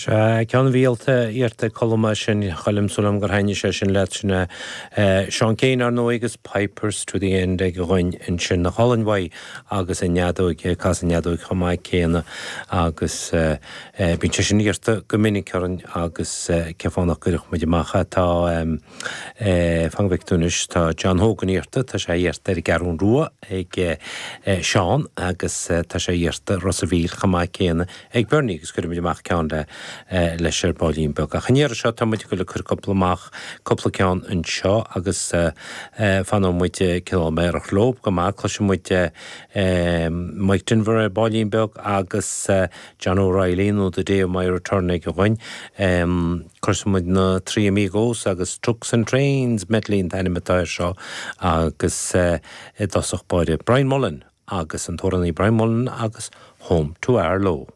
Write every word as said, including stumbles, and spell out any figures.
Sea, ceann a bhí iarrta ag Colm sin Choilm súil gur thaitnigh sé sin leat sin Seán Keane ar ndóigh agus Pipers to the End ag goin ansin na hOllann agus an fheadóg cas an fheadóg chomh maith céanna agus bíonn sé sin iarrta go minic orainn agus cé fánach gcuirfeadh muid amach tá fan go bhfeicfidh tá John Hogan iarrta tá sé iarrta ar an gCeathrú Rua ag Seán agus tá sé iarrta Ros an Mhíl chomh maith céanna ag Bernie agus cuirfimid amach ceann le leis ar baillín beag. Ach an iarraidh seo tá muid le cur cúpla amach cúpla ceann anseo agus fanfaidh muid cineál meidhreach leo go maith cloisfidh muid Mike Denver ar baillín beag agus John O'Reilly nó The Day of My Return ag a ghoin. Cloisfidh muid na Three Amigos agus Trucks and Trains medley an t-ainm atá air seo agus i dtosach báire Brian Mullen agus an t-amhránaí Brian Mullen agus Home to Arlow.